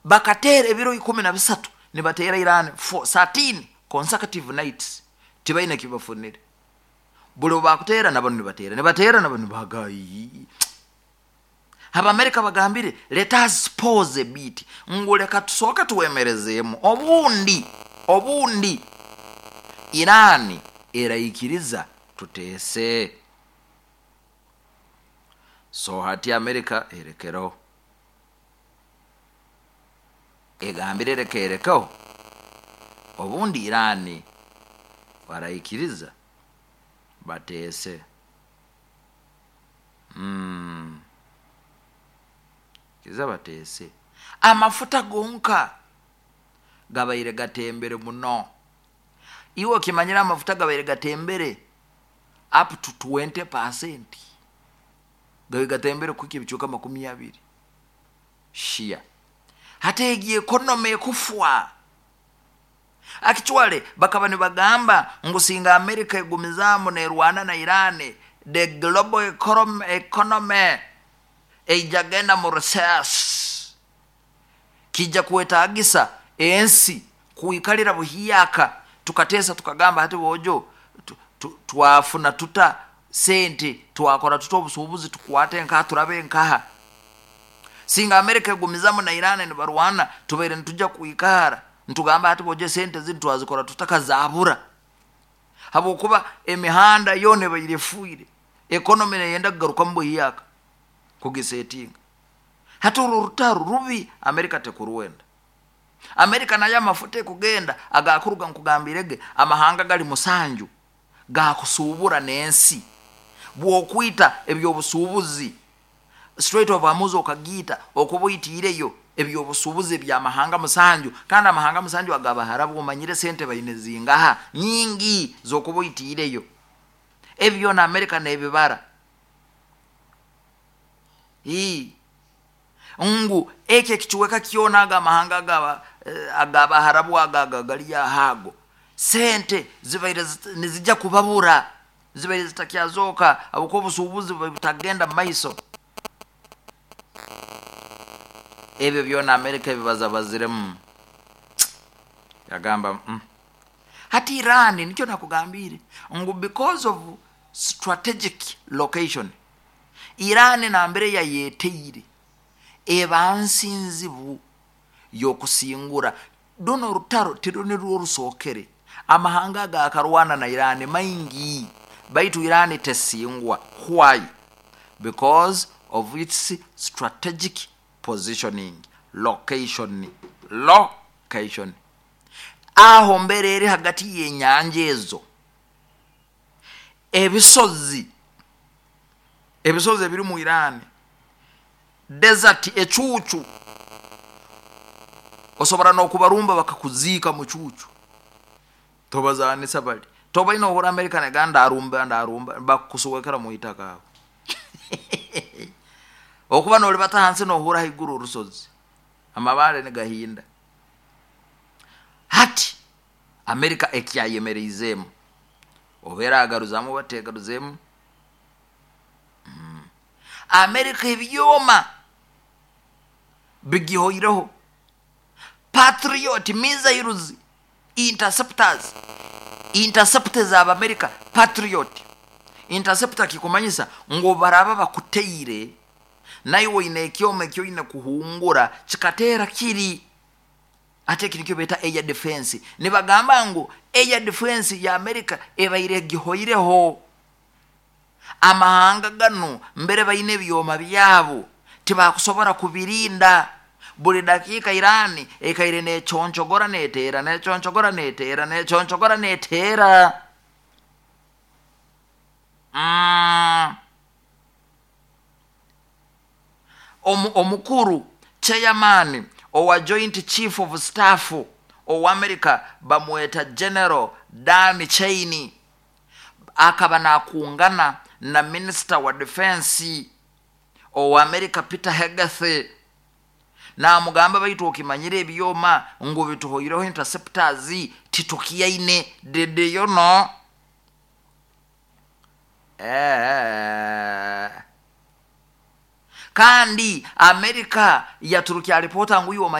Bakateera ebiro 13 nibateera Iran for 13 consecutive nights, tibaine ki bafunire. Buri obu baakuteera na banu nibateera, nibateera na banu nibahaga. Abamerika bagambire, Let us pause a bit, ngu reka tusooke twemerezeemu, obundi, obundi Iran eraikiriza tuteese. So hati Amerika erekereho. Egambire reka erekeho, obundi Iran baraikiriza bateese. Umm. Kiza bateese. Amafuta gonka gabaire gatembere muno. Iwe okimanyire amafuta gabaire gatembere up to 20%. Gabaire gatembere kuhika ebicweka 20. Shia. Hati egi economy ekufwa. Actually bakaba nibagamba ngu singa America egumizaamu nerwana na Iran, the global economy eija genda mu recess. Kija kwetagisa ensi kwikarira buhyaka tukateesa tukagamba hati boojo twafuna tuta sente, twakora tuta obusuubuzi, tukwate nkaha turabe nkaha. Singa America egumizamu na Iran nibarwana, tubaire nituja kwikara nitugamba hati boojo esente zinu twazikora tuta kazabura, habwokuba emihanda yoona ebaire efuire, economy neyenda kugarukamu buhyaka kugisetinga. Hati oru orutaro rubi America tekurwenda. America nayo amafuta ekugenda agakuruga nkugambire ge amahanga gari musanju gakusuubura n'ensi. Bwokwita eby'obusuubuzi Strait of Hormuz okagiita okuba oitiireyo eby'obusuubuzi eby'amahanga musanju, kandi amahanga musanju ag'Abaharabu omanyire sente baine zingaha? Nyingi z'okuba oitiireyo. Ebi byona America n'ebibara. Ii. Ngu eki ekicweka kyona ago amahanga ag'Abaharabu ago ago gari aho ago, sente zibaire nizija kubabura. Zibaire zitakyazooka ahabw'okuba obusuubuzi bubaire butakugenda mu maiso. Ebyo byona Amerika ebibazabaziremu yagamba mm. Hati Iran nikyo nakugambiire ngu because of strategic location, Iran nambere yayeteire eba nsi nzibu y'okusingura. Runu orutaro tirwo rusookere. Amahanga agaakarwana na Iran maingi, baitu Iran tesingwa. Why? Because of its strategic positioning, location, location. Aho mbere eri hagati y'enyanja ezo, ebisozi, ebisozi ebiri mu Iran, desert, ecuucu, osobora n'okubarumba bakakuziika mu cuucu. Tobazaanisa bari. Tobaine ohurra America negamba ndarumba ndarumba, bakukuswekera mu itaka aho. Okuba noribata ahansi nohurra ahaiguru orusozi, amabaare nigahinda. Hati America ekyayemereizeemu, oba eragaruzamu oba tegaruzeemu, America ebyoma bigihoireho, Patriot missiles interceptors, interceptor ez'Abamerika, Patriot interceptor kikumanyisa ngu obu baraaba bakuteire, naiwe oine ekyoma eki oine kuhungura kikateera kiri. Hati eki nikyo beeta air defence. Nibagamba ngu air defence ya America ebaire egihoireho. Amahanga ganu mbere baine ebyoma byabo tibakusobora kubirinda. Buri dakiika Iran ekaire neconchogora neteera, neconchogora neteera, neconchogora neteera. Mm. Omukuru, Chairman, owa Joint Chief of Staff owa America bamweta General Dan Cheney akaba nakungana na Minisita wa Defence owa America Peter Hegseth namugamba baitu okimanyire ebyoma ngu bituhoireho interceptors titukyaine did you know? Eeh. Kandi Amerika yaturukya alipoota ngu iwe omanyire.